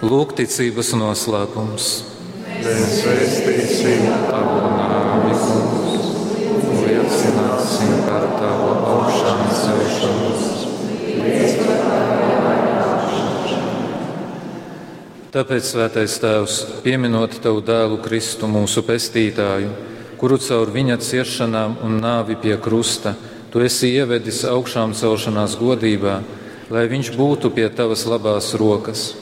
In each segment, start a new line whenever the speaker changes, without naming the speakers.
Lūgticības noslēpums.
Mēs vēstīsim
tavu nāvi, kungs, un liecināsim par tavu augšām celšanos. Tāpēc, Svētais Tēvs, pieminot tavu dēlu Kristu, mūsu pestītāju, kuru caur viņa ciešanām un nāvi pie krusta tu esi ievedis augšām celšanās godībā, lai viņš būtu pie tavas labās rokas.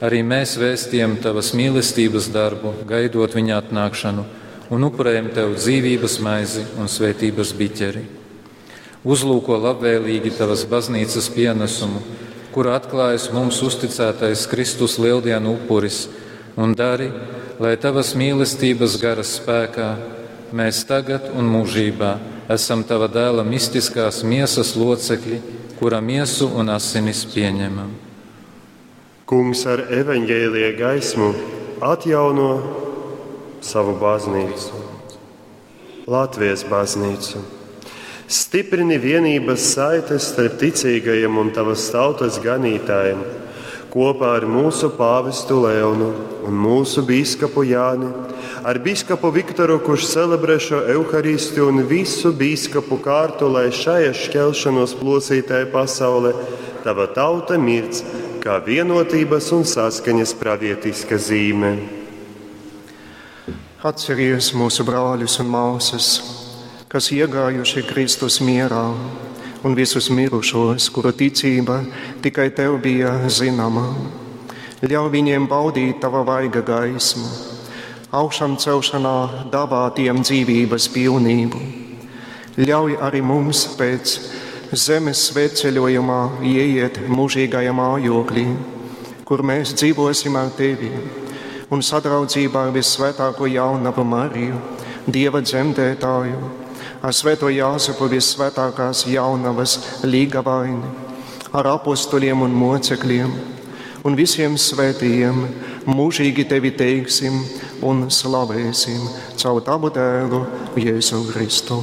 Arī mēs vēstījam tavas mīlestības darbu, gaidot viņa atnākšanu, un upurējam tev dzīvības maizi un svētības biķeri. Uzlūko labvēlīgi tavas baznīcas pienesumu, kura atklājas mums uzticētais Kristus lieldienu upuris, un dari, lai tavas mīlestības garas spēkā mēs tagad un mūžībā esam tava dēla mistiskās miesas locekļi, kura miesu un asinis pieņemam.
Kungs ar evaņģēlija gaismu atjauno savu baznīcu, Latvijas baznīcu. Stiprini vienības saites starp ticīgajiem un tavas tautas ganītājiem, kopā ar mūsu pāvestu Leonu un mūsu bīskapu Jāni, ar bīskapu Viktoru, kurš celebrē šo evaharistiju un visu bīskapu kārtu, lai šajā šķelšanos plosītāja pasaulē tava tauta mirdz kā vienotības un saskaņas pravietiska zīme.
Atceries mūsu brāļus un māsas, kas iegājuši Kristus mierā, un visus mirušos, kuru ticība tikai tev bija zināma. Ļauj viņiem baudīt tava vaiga gaismu, augšām celšanā dāvā tiem dzīvības pilnību. Ļauj arī mums pēc zemes svētceļojumā ieiet mūžīgajā mājoklī, kur mēs dzīvosim ar tevi un sadraudzībā ar visvētāko jaunavu Mariju, Dieva dzemdētāju, ar svēto Jāzepu visvētākās jaunavas līgavaini, ar apustuļiem un mocekļiem un visiem svētījiem mūžīgi tevi teiksim un slavēsim caur tavu dēlu Jēzu Kristu.